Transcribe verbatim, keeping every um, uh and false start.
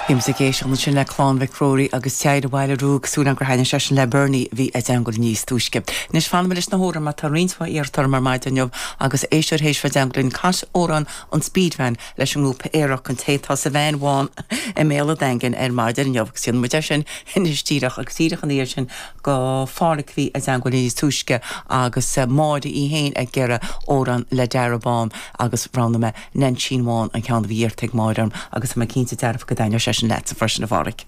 Bhí ag éisteacht sin le Clann Mhic Ruairí agus Teaghra Bhaile Ruaidh súil gur thaithin sé sin le Bernie bhí ag teagmháil níos túisce. Anois fanfaidh mé leis na hamhráin mar tá roinnt mhaith iarrataí ar maidin inniu agus éisteoir théis bheith ag teagmháil linn cas amhrán an Speedvan leis an ngrúpa Aerach an té atá sa veain bhán i mBéal an Daingin ar maidin inniu agus déanfaidh muid é sin anois díreach agus díreach an iar sin go Phádraic bhí ag teagmháil níos túisce agus Máire í héin ag iarraidh amhrán le Dara Bán agus roghnaigh mé Neainsín Bhán an ceann a bhí iarrtha ag Máire orm agus mé cinnte dearfa go dtaitneoidh sé sin leat freisin a Phádraic.